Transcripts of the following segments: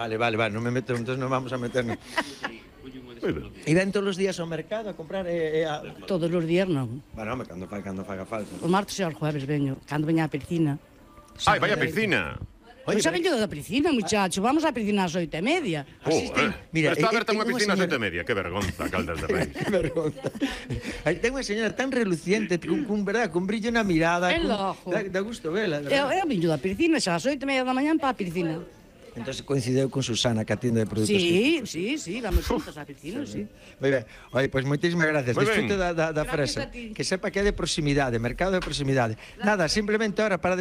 Vale, non me meto, entonces non vamos a meternos. E ven todos os días ao mercado a comprar Todos os días non. Bueno, home, cando faga falta. Os martes e os jueves veño, cando veña á piscina. Ai, vai a piscina. Pois xa veño da piscina, muchacho. Vamos á piscina ás 8:30. Mira, está aberta unha piscina ás 8:30. Que vergonza, Caldas de Reis. Que vergonza. Ten unha señora tan reluciente, cun brillo na mirada. É lojo. Dá gusto vela. Eu veño da piscina xa ás 8:30 da mañá para a piscina. Entón coincideu con Susana, que atende de produtos. Sí, vamos juntos á piscina, sí. Moi ben. Oi, pois moitísimas gracias. Disfrute da fresa. a ti. Que sepa que é de proximidade, mercado de proximidade. Nada, simplemente ahora para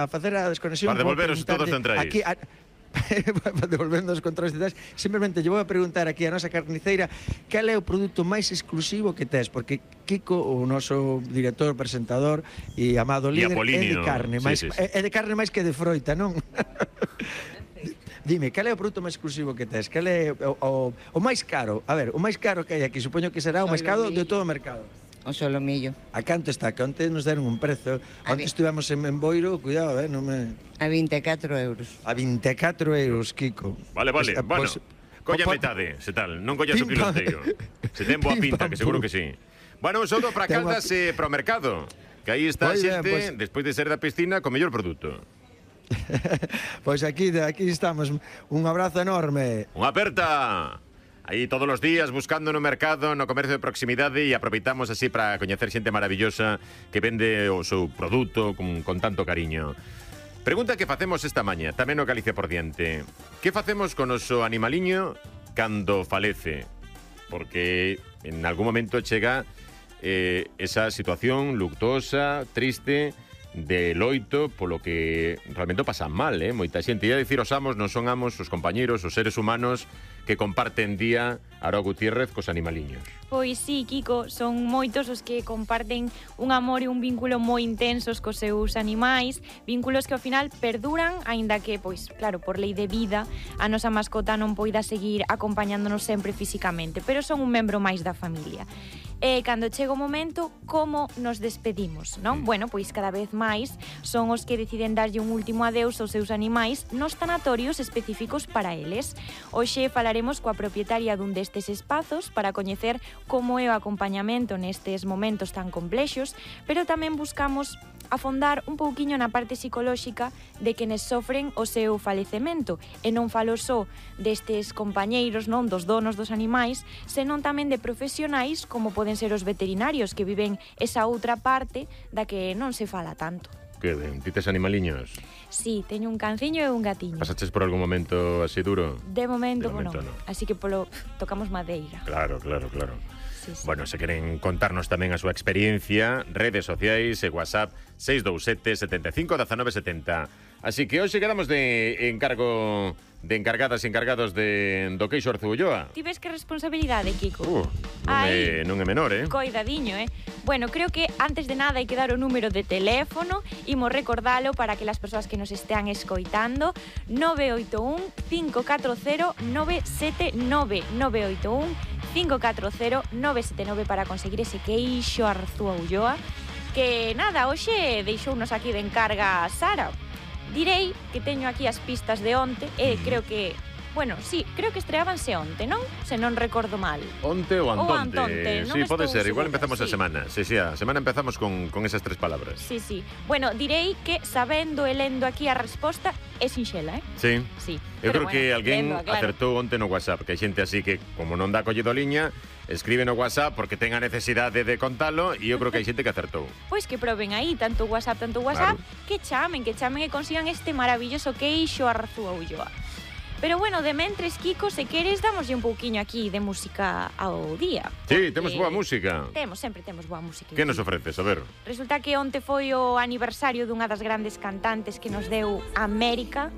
facer a desconexión. Para devolveros todos centrais. Aquí para devolvendo os controles centrais, simplemente lle vou a preguntar aquí a nosa carniceira cal é o produto máis exclusivo que tes, porque Kiko, o noso director, presentador e amado líder, é de carne, é de carne máis que de froita, non? Dime, cal é o produto máis exclusivo que tes? Cal é o máis caro? A ver, o máis caro que hai aquí, supoño que será o máis caro de todo o mercado. O solomillo. A canto está? Que onte nos deron un prezo. Onte estivemos en Boiro, cuidado, non me... A 24 euros. A 24 euros, Kiko. Vale, bueno, colla metade, se tal, non collas o piloteiro. Se ten boa pinta, que seguro que sí. Bueno, un saúdo para Caldas e para o mercado, que aí está a xente, despois de ser da piscina, con mellor produto. Pois aquí estamos. Un abrazo enorme. Unha aperta. Aí todos os días buscando no mercado, no comercio de proximidade, e aproveitamos así para coñecer xente maravillosa que vende o seu produto con tanto cariño. Pregunta que facemos esta maña, tamén no Galicia por diante. Que facemos con o noso animaliño cando falece? Porque en algún momento chega esa situación luctuosa, triste, de loito, polo que realmente pasan mal, moita xente. Ia dicir os amos, non son amos, os compañeros, os seres humanos que comparten día Aroa Gutiérrez cos animaliños. Pois sí, Kiko, son moitos os que comparten un amor e un vínculo moi intensos cos seus animais, vínculos que ao final perduran, aínda que, pois, claro, por lei de vida, a nosa mascota non poida seguir acompañándonos sempre físicamente, pero son un membro máis da familia. E cando chega o momento, como nos despedimos, non? Bueno, pois cada vez máis son os que deciden darlle un último adeus aos seus animais nos tanatorios específicos para eles. Hoxe falaremos coa propietaria dun destes espazos para coñecer como é o acompañamento nestes momentos tan complexos, pero tamén buscamos afondar un pouquiño na parte psicolóxica de quenes sofren o seu falecemento, e non falo só destes compañeiros, non, dos donos dos animais, senón tamén de profesionais como poden ser os veterinarios que viven esa outra parte da que non se fala tanto. Que ben, ti tes animaliños? Sí, teño un canciño e un gatiño. Pasaches por algún momento así duro? De momento non. Así que tocamos madeira. Claro. Sí. Bueno, se queren contarnos tamén a súa experiencia, redes sociais e WhatsApp 627 75 19 70. Así que hoxe quedamos de encargo de encargadas e encargados do queixo Arzúa. Ti ves que responsabilidade, Kiko? Non é menor, Coidadiño, Bueno, creo que antes de nada hai que dar o número de teléfono, imos recordalo para que as persoas que nos estean escoitando, 981 540 979, 981 540 979 para conseguir ese queixo Arzúa Ulloa, que nada, hoxe deixounos aquí de encarga Sara. Direi que teño aquí as pistas de onte e creo que... Bueno, sí, creo que estreábanse onte, non? Se non recordo mal. Onte ou antonte. Ou antonte, sí, pode ser, igual empezamos sí. A semana. Sí, a semana empezamos con esas tres palabras. Sí. Bueno, direi que sabendo e lendo aquí a resposta é sinxela, Sí. Eu creo que alguén claro, acertou onte no WhatsApp, que hai xente así que, como non dá collido liña, escribe no WhatsApp porque ten a necesidade de contalo, e eu creo que hai xente que acertou. Pois que proben aí, tanto WhatsApp, Claro. que chamen e consigan este maravilloso queixo Arzúa Ulloa. Pero bueno, de mentres, Kiko, se queres, damoslle un pouquiño aquí de música ao día. Sí, temos boa música. Sempre temos boa música. Que nos ofreces? A ver. Resulta que onte foi o aniversario dunha das grandes cantantes que nos deu América,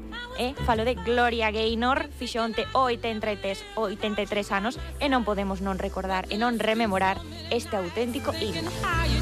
falo de Gloria Gaynor, fixo onte 83 anos, e non podemos non recordar e non rememorar este auténtico himno.